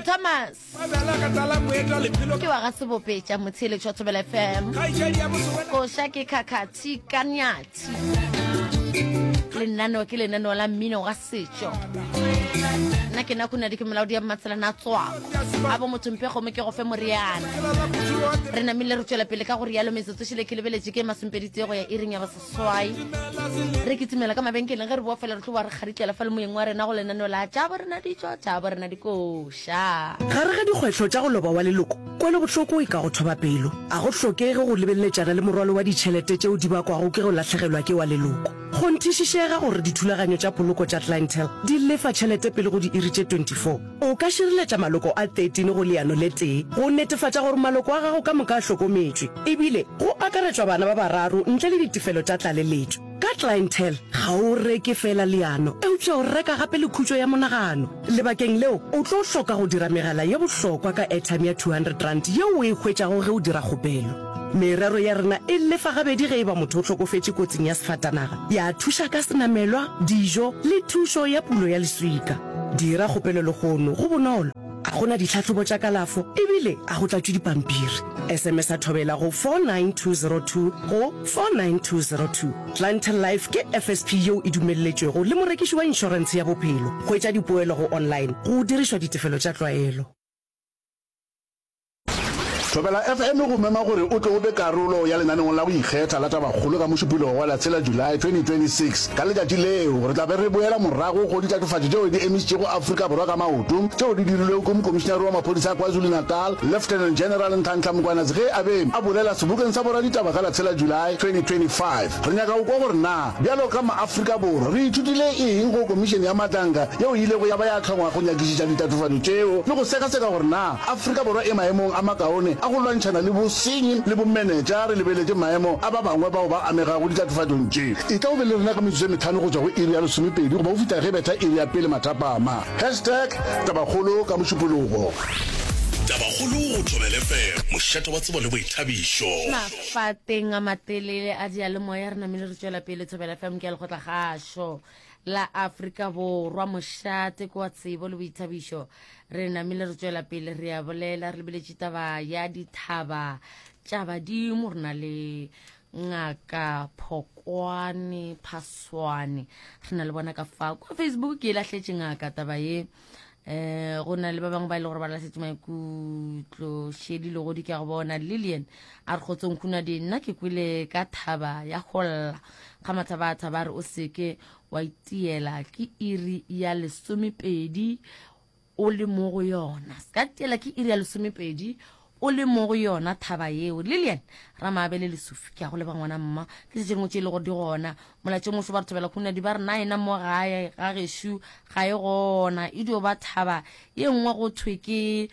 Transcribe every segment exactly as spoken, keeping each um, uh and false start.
Thomas ke wa ga Sebopetša, motheeletši wa Thobela F M. Koša ke Khakhathi ka Nyathi. Lenaneo ke lenaneo la mmino wa setšo. Nna ke Nakunadi, ke molaodi ya Mmatselana a tswako a bo motho mpe kgomo ke go fe moriana. Re namile re tšwela pele ka go rialo. Metsotso šile ke lebeletše ke masomepedi go ya iring ya baseswai. Re kitimela ka mabenkeleng, ge re boa fela re tlo ba re kgaritlela fa le moyeng wa rena go lenaneo la tša bo rena ditšo, tša bo rena dikoša. Gare ga dikgwetlho tša go loba wa leloko, kwelobohloko e ka go thoba pelo. A go hlokege go lebeletšana le morwalo wa ditšhelete tšeo di bakwago ke go lahlegelwa ke wa leloko. Kgonthišišega gore dithulaganyo tša poloko tša Clientele di lefa tšhelete pele go diiri tše twenty-four. O ka šireletša maloko a thirteen go leano le tee go netefatša gore maloko a gago ka moka a hlokometšwe, ebile go akaretšwa bana ba bararo ntle le ditefelo tša tlaleletšo. Ka Clientele ga o reke fela leano, eupša o reka gape le khutšo ya monagano. Lebakeng leo o tlo hloka go dira megala ye bohlokwa ka airtime ya two hundred rand yeo o e hwetšago ge o dira kgopelo. Merero ya rena e lefa gabedi ge e ba motho o hlokofetše kotsing ya sefatanaga, ya thuša ka senamelwa, dijo le thušo ya pulo ya leswika. Dira kgopelo lehono, go bonolo, ga gona ditlhahlobo tša kalafo ebile a go tlatšwe dipampiri. S M S a Thobela go four nine two zero two go four nine two zero two. Clientele Life ke F S P yeo e dumelletšwego le morekiši wa inšorentshe ya bophelo. Hwetša dipoelo go online go dirišwa ditefelo tša tlwaelo. Thobela F M go mema gore o tle o be karolo ya lenaneong la go ikgetha la Tabakgolo ka Mošupologo wa la tshela July twenty twenty-six. Ka letšatši leo re tla be re boela morago go ditatofatšo tšeo di emišitšego Afrika Borwa ka maoto, tšeo di dirilwego ke mokomišinare wa maphodisa a KwaZulu-Natal, Lieutenant General Nhlanhla Mkhwanazi, ge a be a bolela sebokeng sa boraditaba ka la tshela July twenty twenty-five. Re nyaka go kwa gore na bjalo ka maAfrika Borwa re ithutile eng go komišene ya Madlanga yeo e ilego ya ba ya hlongwa go nyakišiša ditatofatšo tšeo le go sekaseka gore na Afrika Borwa e maemong a makaone a go lwantšhana le bosenyi le bomenetša, re lebeletše maemo a ba bangwe bao ba amegago ditatofatšong tše. E tla o be le rena ka metsotso e metlhano go tšwa go iri ya lesomepedi goba go fihla ge betha iri ya pele mathapama. Hashtag Tabakgolo ka Mošupologo. Tabakgolo go Thobela F M, mošate wa tsebo le boithabišo. Mafateng a matelele a dialemoya re namile re tšwela pele. Thobela F M ke ya lekgotlakgašo la Afrika Borwa, mošate ke wa tsebo le boithabišo. Re namile re tšwela pele, re a bolela re lebeletše taba ya dithaba tša badimo. Re na le Ngaka Phokwane Phaswane, re na le bona ka fa kwa Facebook. Ke e lahletše ngaka taba ye. um go na le ba bangwe ba e le gore ba lahletše maikutlo. Šedi legodi ke a go bona. Lilian a re kgotsong Khunadi, nna ke kwele ka thaba ya golla ga mathaba a thaba, a re o seke wa itiela ke iri ya lesomepedi o le mo go yona. Se ka tiela ke iri ya lesomepedi o le mo go yona thaba yeo. Lilian Ramaabele Lesufi, ke a go leba ngwana mma. Ke se dingwe tše e le gore di gona molatše moso. Ba re thobela Khunadi, ba re na ena mo gae ga gešo ga e gona, e dio ba thaba ye nngwe go thwe ke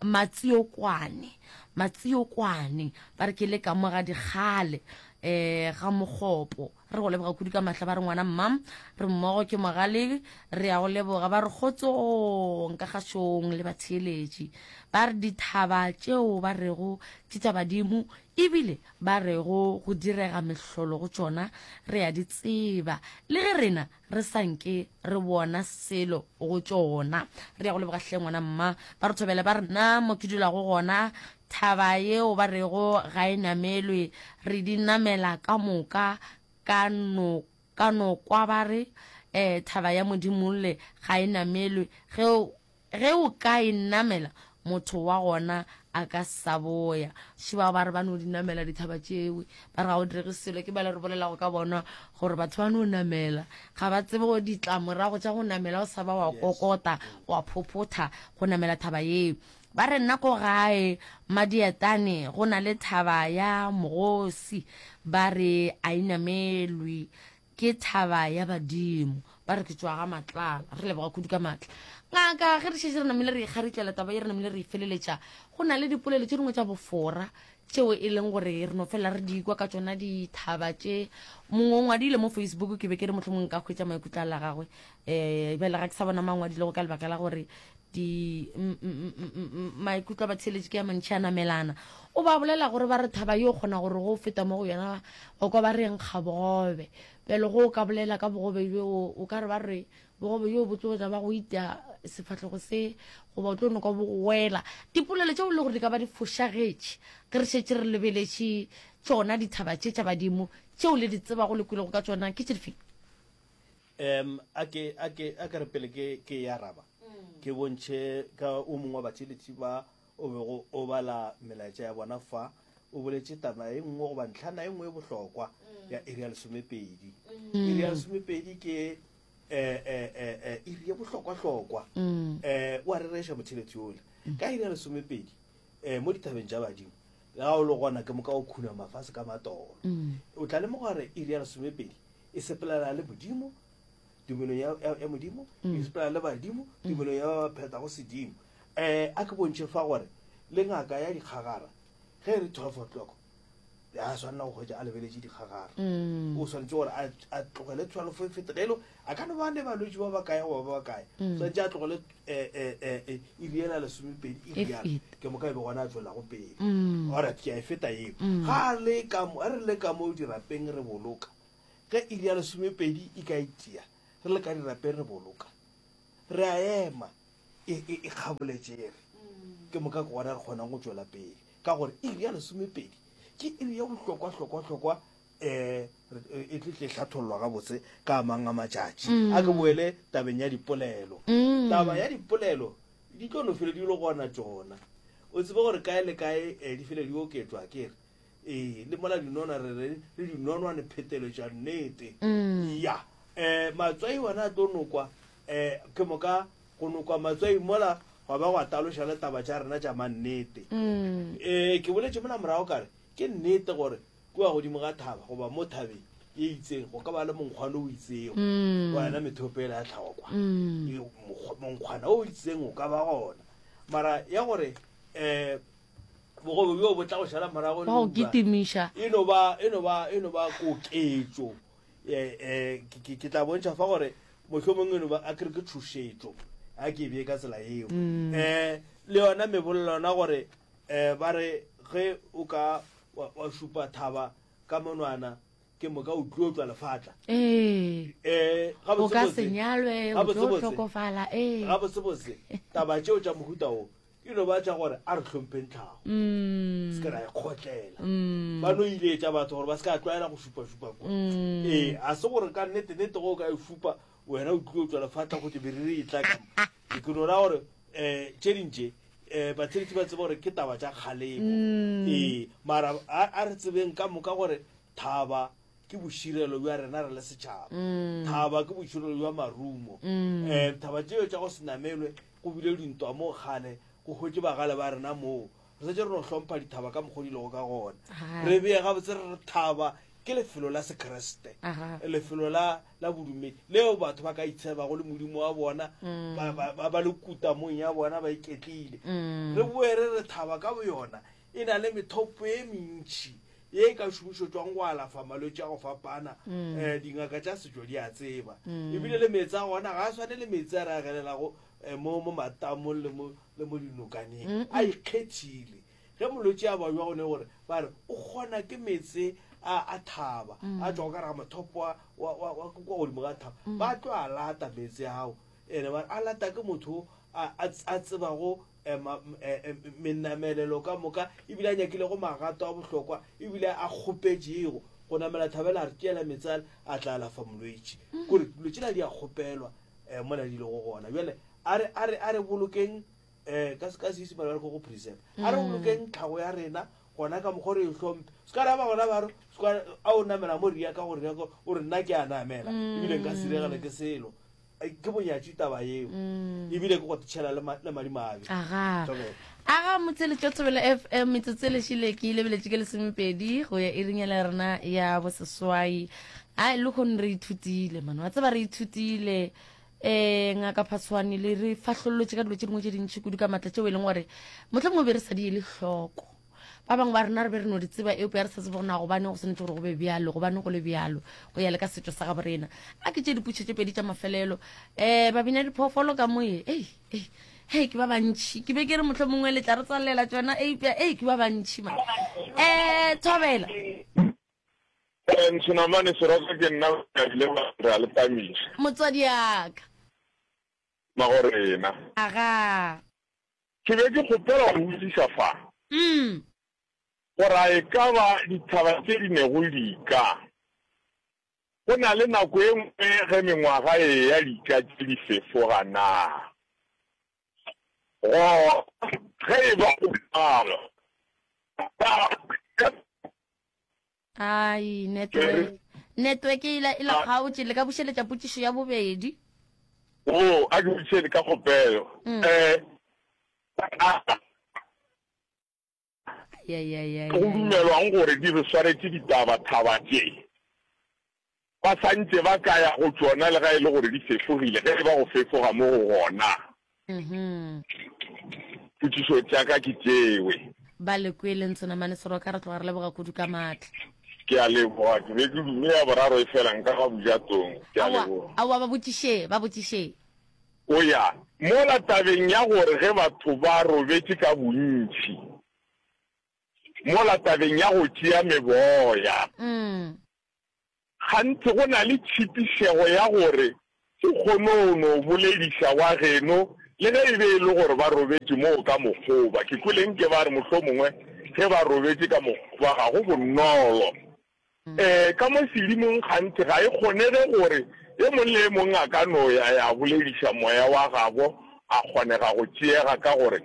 Matsiokwane. Matsiokwane ba re ke le ka mo ga dikgale um ga Mokgopo. Re go leboga kudu ka mahla. Ba re ngwana mma, re mmogo ke mogale, re ya go leboga. Ba re kgotsong ka kgašong le batheeletši. Ba re dithaba tšeo ba rego ke tša badimo ebile ba rego go direga mehlolo go tšona, re ya di tseba le ge rena re sa nke re bona selo go tšona. Re ya go leboga hle ngwana mma. Ba re thobele, ba re nna mo ke dulago gona thaba yeo ba rego ga e namelwe, re di namela ka moka ka no ka no kwa. Ba re um thaba ya Modimolle ga e namelwe, ge ge o ka e namela motho wa gona a ka sa boya. Šiba ba re ba no di namela dithaba tšewe, ba re ga o direge selo. Ke bale re bolelago ka bona gore batho ba no namela ga ba tsebe go ditlamorago tša go namela, o sa ba wa kokota wa phophotha go namela thaba yeo. Ba re nna ko gae Madietane go na le thaba ya Mogosi, ba re a inamelwe, ke thaba ya badimo. Ba re ke tšwa ga Matlala. Re leboga kudu ka maatla ngaka. Ge re šetse re namile re ikgaritlela taba ye, re namile re e feleletša, go na le dipolelo tše dingwe tša bofora tšeo e leng gore re no fela re di kwa ka tšona dithaba tše. Mongwe o ngwadile mo Facebook, ke be ke re mohlomongwe nka hwetša maikutlo a la gagwe. um bjale ga ke sa bona mangwadilego ka lebaka la gore di maikutlo a batheeletši ke a mantšhi a namelana. O ba bolela gore ba re thaba yo kgona gore go feta mo go yona o kwa ba reng ga bogobe. Bjale go o ka bolela ka bogobe bjo, o ka re ba re Bogobe bjo bo tlo tla ba go itia sefahlego se, goba o tlo no kwa bo go wela. Dipolelo tšeo e le gore di ka ba di fošagetše ge re šetše re lebeletše tšona dithaba tše tša badimo tšeo le di tsebago le kwelego ka tšona ke tše difeng? Um, a ke, a ke, a ke re pele ke, ke e araba, ke bontšhe ka o mongwe wa batheeletši ba o bego o bala melaetša ya bona fa, o boletše taba e nngwe goba ntlhana e nngwe e bohlokwa ya iri ya lesomepedi. Iri ya lesomepedi ke eh, eh, eh, eh, iri ye bohlokwa-hlokwa. Eh, o a rereša motheeletši yola. Ka iri ya lesomepedi, eh, mo dithabeng tša badimo, le ga o le gona ke moka o khunama fase ka matolo. O tla lemoga gore iri ya lesomepedi e sepelana le Modimo, tumelong ya, ya, ya Modimo, e sepelana le badimo, tumelong ya ba ba phethago sedimo. Eh, a ke bontšhe fa gore le ngaka ya dikgagara ge e re twelve o'clock ya swanela go hwetša a lebeletše dikgagara. O swanetše gore a, a tlogele twelve e fete, ge e le a ka no ba ne balwetši ba bakae goba ba bakae, swanetše a tlogele, eh, eh, eh, eh, iri ela lesomepedi e E rialo, fete. ke moka e be gona a tšwelago pele. Alright, ke a e feta yeo. Ga a le ka mo, ge re le ka mo dirapeng re boloka, ge iri ya lesomepedi e ka itia, re le ka dirapeng re boloka, re a ema e, e, e kgaboletšere, ke moka ke gona re kgonang go tšwela pele, ka gore iri ya lesomepedi ke iri ya bohlokwa-hlokwa-hlokwa, eh, re, e tle tle hlathollwa gabotse ka mang a matšatši. A ke boele tabeng ya dipolelo. Taba ya dipolelo di tlo no fele di le gona tšona. O tsebe gore kae le kae, eh, di fele di oketšwa, ke re. Ee, le mola dinona re re le dinonwane pheteletša nnete. Ya, eh, matswai ona a tlo nokwa, eh, ke moka go nokwa matswai mola gwa ba gwa taloša le taba tša rena tša mannete. Eh, ke boletše mola morago ka re ke nnete gore kua godimo ga thaba goba mo thabeng e itseng go ka ba le monkgwana o itsego wa yona methopo ela ya tlhago kwa. E, mokgwa-, monkgwana o itseng o ka ba gona, mara ya gore, eh, bogobe bjo bo tla go šala morago Ba go le uba, kitimiša. e no ba, e no ba, e no ba koketšo. Eh, eh, ke, ke, ke tla bontšha fa gore mohlomongwe e no ba, a ke re ke tšhošetšo, a ke e bee ka tsela eo. Eh, le yona mebolelo yona gore, eh, ba re ge o ka wa, wa šupa thaba ka monwana, ke moka o tlo tšwa lefatla. Ee. Eh, O ka gabotsebotse, se nyalwe, o tlo gabotsebotse, hlokofala, ee. gabotsebotse, taba tšeo tša mohuta wo e no ba tša gore a re hlompheng tlhago. Mm. Se ke ra e kgotlela. Mm. Ba no iletša batho gore ba se ka tlwaela go šupa-šupa kwa. Mm. Ee, a se gore ka nnete-nnete ge o ka e šupa, wena o tlile o tšwa lefatla go te meriri e tla ka mo. Ke no ra gore, eh, tše ding tše, eh, batheeletši ba tsebe gore ke taba tša kgalemo. Mm. Ee, mara a, a re tsebeng ka moka gore thaba ke boširelo bja rena re le setšhaba. Mm. Thaba ke boširelo bja marumo. Mm. Eh, thaba tšeo tša go se namelwe, go bile dintwa mo kgale, go hwetše bagale ba rena moo. Re setse re no hlompha dithaba ka mokgwa di lego ka gona. Aha. Re bee gabotse re re thaba ke lefelo la Sekriste, Aha. lefelo la, la bodumedi leo batho ba ka itshebago le modimo wa bona, Mm. ba, ba, ba, ba le kutamong ya bona ba iketlile. Mm. Re boe re re thaba ka boyona e na le methopo e mentši ye e ka šomišetšwang go alafa malwetši a go fapana. Mm. Eh, dingaka tša setšo di a tseba. Mm. Ebile le meetse a gona ga a swane le meetse a re a gelelago, eh, mo, mo matamong le mo, le mo dinokaneng. Mm-mm. A ikgethile. Ge molwetši a bajwa gone gore ba re o kgona ke meetse a, a thaba, Mm. a tšwago ka gare ga mothopo wa, wa, wa, wa kwa godimo ga thaba. Mm. Ba tlo a lata meetse ao. Ene ba re a lata ke motho a, a, a tsebago, eh, ma, eh, eh, menamelelo ka moka, ebile a nyakilego magato a bohlokwa, ebile a kgopetšego go namela thabela a re tšeela meetse ale, a tla alafa molwetši. Mm. Kore dilo tšela di a kgopelwa, eh, mola di lego gona. Bjale a re, a re, a re bolokeng, eh, ka, ka Seisemane ba re ke go preserve. A re Mm. bolokeng tlhago ya rena gona ka mokgwa re e hlomphe. Se ka ra ba gona ba re, se ka, a o namela mo ria ka gore ria ka, o re nna ke a namela, Mm. ebile nka se diregele ke selo. Ai, ke bonyatši taba eo. Mm. Ebile ke go tšhela le ma-, le madimabe. Aga. Thobela. Aga motseletšo Thobela F M, metsotso e lešile ke lebeletše ke lesomepedi go ya iring ya rena ya boseswai. Ai, le kgone re ithutile, man. Wa tseba re ithutile. Eh, ngaka Phatshwane le re fahlollotše ka dilo tše dingwe tše dintši kudu ka matla tšeo e leng gore mohlomongwe be re sa di ele hloko. Ba bangwe ba rena re be re no di tseba, eupša re sa tsebe gore na gobane go swanetše gore go be bjalo, gobane go le bjalo, go ya le ka setšo sa gabo rena. A ke tše dipotšišo tše pedi tša mafelelo. Eh, ba bina diphoofolo ka moye. Ei, ei, hei, ke ba bantši. Ke be ke re mohlomongwe le tla re tswalela tšona, eupša, ei, ke ba bantši man. Eh, Thobela. Eh, Ntshinamane Seroka ke nna ka ile ba re a le tamiša. Motswadi ya ka. Magorena. Agaa. Ke be ke kgopela go botšiša fa, Mm. gore a e ka ba dithaba tše di nego dika? Go na le nako e nngwe ge mengwaga e eya dika tše di fefoga na? Gona ge e ba go bjalo, na ka. Ai, network. Network e la e la kgaotše, le ka bušeletša potšišo ya bobedi. O, a ke botšišele ka kgopelo. Mm. Eh, a Ai, ai, ai, ai, go ai. dumelwang gore di re swaretše ditaba thaba tše? Ba sa ntše ba ka ya go tšona le ga e le gore di fefogile, ge e ba go fefoga mo go gona. Mhm. Potšišo tša ka ke tšewe. Ba le kwele Ntsonamane Seroka, re tloga re leboga kudu ka maatla. Ke a leboga, ke be ke dume ya boraro efela nka ga bojatong. Ke a Aowa, leboga. aowa, ba botšiše, ba botšiše. O ya mola tabeng ya gore ge batho ba robetše ka bontši, mola tabeng ya go tšea meboya. Mm. Gantši go na le tšhipišego ya gore o kgone go no bolediša wa geno le ge e be e le gore ba robetše moo ka mokgoba. Ke kwele nke ba re mohlomongwe ge ba robetše ka mokgoba ga go bonolo. Ee, ka mo sedimong gantši ga e kgonege gore e mong le e mong a ka no ya ya bolediša moya wa gabo a kgonega go tšeega ka gore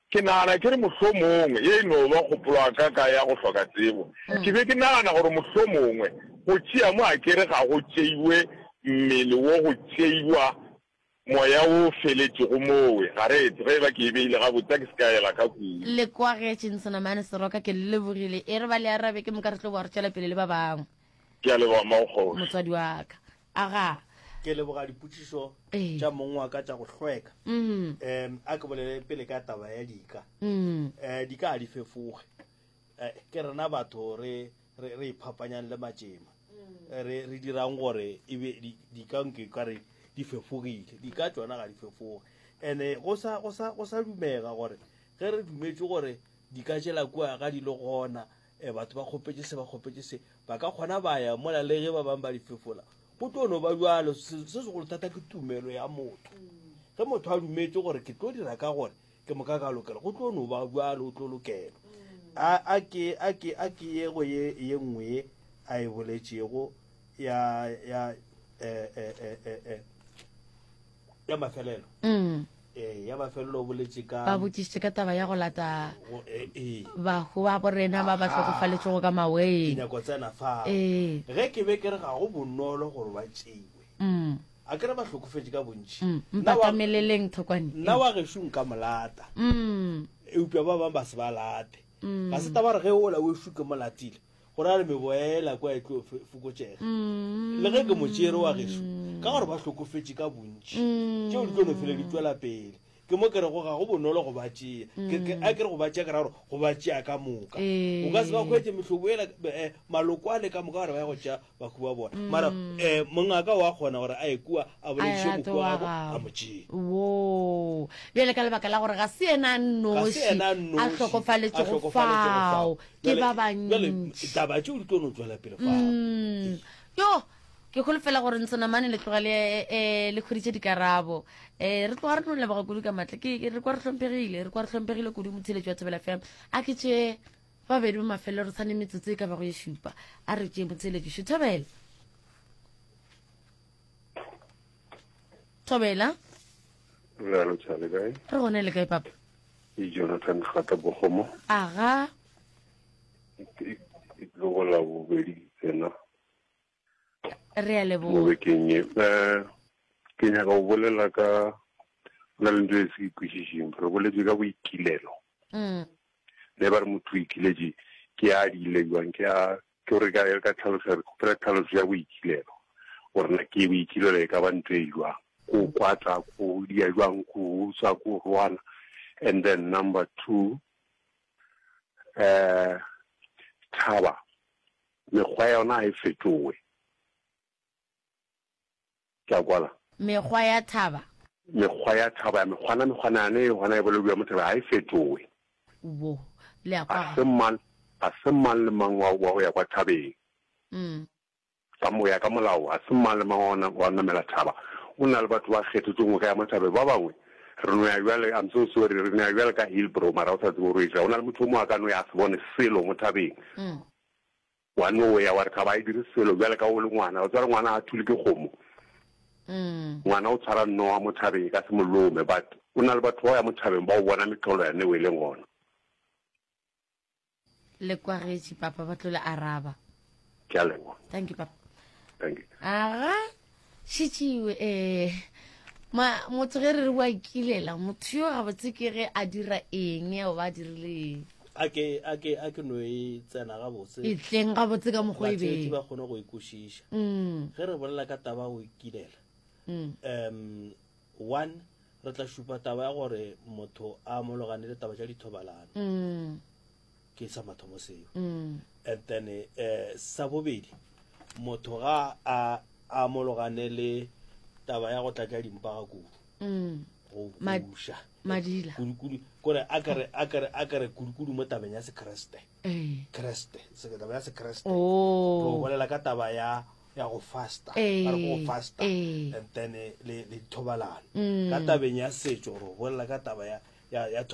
Ke nagana ke re mohlomongwe, ye e no ba kgopolo ya ka ka ya go hloka tsebo, ke be ke nagana gore mohlomongwe go tšea mo akere ga go tšeiwe mmele wo go tšeiwa moya wo o feletšego mowe, ga re etse, ge e ba ke e beile gabotse, a ke se ka ela ka kudu. Le kwagetše, Nsonamane Seroka, ke le lebogile. E re ba le arabe ke moka re tlo boa re tšwela pele le ba bangwe. Ke a leboga, Mmago-kgoši. Motswadi wa ka. Agaa. Ke leboga dipotšišo Ee. tša mong wa ka tša go hlweka. Mm. Um a ke bolele pele ka taba ya dika. Mm. Um dika ga di fefoge. Eh, ke rena batho re re re iphapanyang le matšema. Eh, Re re dirang gore e be di- dika nke ka re di fefogile. Dika tšona ga di fefoge. Ene go sa go sa go sa dumega gore ge re dumetše gore dika tšela kua ga di le gona eh, batho ba kgopetše se ba kgopetše se ba ka kgona ba ya mola le ge ba bangwe ba di fefola go tlo no ba bjalo. Se se segolo thata ke tumelo ya motho. Ge motho a dumetše gore ke tlo dira ka gore ke moka ka lokela, go tlo no ba bjalo, o tlo lokelwa. A a ke a ke a ke ye go ye ye nngwe ye a e boletšego ya ya eh, eh, eh, eh, eh, ya mafelelo. Mm. Eh, ya mafelelo o boletše ka Ba botšišitše ka taba ya go lata go, eh, eh. bahu ba borena ba ba Aha. hlokofaletšego ka Ke maweng. nyako tsena fao. Ee. Ge ke be ke re ga go bonolo gore ba tšeiwe. Mm. A ke re ba hlokofetše ka bontši. Mm. Nna wa- Mpatameleleng Thokwane. Nna wa gešo nka mo lata. Mm. Eupša ba bangwe ba se ba late. Mm. Ga se taba gore ge ola wešo ke mo latile, go ra re meboela kua e tlo fe-, fokotšega. Mm. Le ge ke mo tšere wa gešo, ka gore ba hlokofetše ka bontši, Mm. tšeo di tlo no fele di tšwela pele. Ke mo ke rego ga go bonolo go ba tšea. Ke, ke, a ke re go ba tšea, ke ra gore go ba tšea ka moka. Ee. O ka se ba hwetše mehlobo ela, eh, maloko ale ka moka gore ba ye go tšea bahu ba bona. Mm. Mara, eh, mongaka wa kgona gore a ye kua, a bolediše A ye mohu wa wa gabo, gabo. a mo tšee. Wo. Bjale ka lebaka la gore ga se yena a Ga se nnoši yena a a nnoši a hlokofaletšego hlokofaletšego fao, fao. ke Bjale, ba bjale, bantši. taba tšeo di tlo no tšwela pele fao. Mm. Yo, ke holofela gore Nsonamane le tloga le, eh, le hweditše dikarabo. Eh, re tloga re no leboga kudu ka matla. Ke, ke, re kwa re hlomphegile, re kwa re hlomphegile kudu motheeletši wa Thobela F M. A ke tše babedi ba mafelelo, re sane metsotso e ka bago ye šupa. A re tše motheeletši šo. Thobela. Thobela. Re a lotšha le kae? Re gona le kae, papa? Ke Jonathan Gata Bogomo. Aga. E, e tlo go la bobedi tsena. Re a leboga. Mo bekeng ye. Eh, ke nyaka go bolela ka, go na le ntho e se ke kwešišeng. Re boletse ka boikilelo. Mm. Le ba re motho o ikiletše, ke a diile jwang, ke a, ke gore ka, ka tlhaloso, re kgopela tlhaloso ya boikilelo. Gore na ke boikilelo e ka ba ntho e jwang. Ko kwatla, ko dia jwang, ko utswa, ko rwana. And then number two, eh, thaba, mekgwa ya yona ha e fetowe. Ke a kwala. Mekgwa ya thaba. Mekgwa ya thaba, mekgwana, mekgwana yane e gona e bolediwa mo thabeng, ha e fetowe. Wo, le a kwa. Ga se mang, ga se mang le mang wa, wa go ya kwa thabeng. Mm. Ka mo ya ka molao, ga se mang le mang wa, wa namela thaba go na le batho ba kgethetšweng go ya mo thabeng. Ba bangwe re no ya bjale, I'm so sorry, re no ya bjale ka Hillbrow mara o sa tsebe gore o etšang. Go na le motho o mongwe a ka no ya a se bone selo mo thabeng. Wa no ya wa re thaba ga e dire selo bjale ka o le ngwana. O tseba gore ngwana ga a thule ke kgomo. Ngwana o tshwara noga mo thabeng e ka se mo lome but o na le batho ba go ya mo thabeng ba o bona mehlolo ya neo e leng gona. Le kwagetše papa ba tlo le araba. Ke a leboga. Thank you papa. Thank you. Aga šitšiwe eh ma motho ge re re wa ikilela motho yo gabotse ke ge a dira eng o ba dirile eng. A ke a ke a ke no e tsena gabotse. E tleng gabotse ka mokgwa e Batheetši beng. ba kgone go e kwešiša. Mm. Ge re bolela ka taba ya go ikilela, Mm. um one re tla šupa taba ya gore motho a amologane le taba tša dithobalano. Mm. Ke sa mathomo seo. Mm. And then eh sa bobedi motho ga a amologane le taba ya go tlatša dimpa ga kudu. Mm. Go Ma- buša. Madila. Kudu-kudu kore a kare a kare a kare kudu-kudu mo tabeng ya Sekriste. Eh. Kriste, se taba ya Sekriste. Oh. Go bolela ka taba ya ya go fasta. Eh, Ba re go fasta. eh. And then eh, le le dithobalano. Mm. Ka tabeng ya setšo re bolela ka taba ya ya ya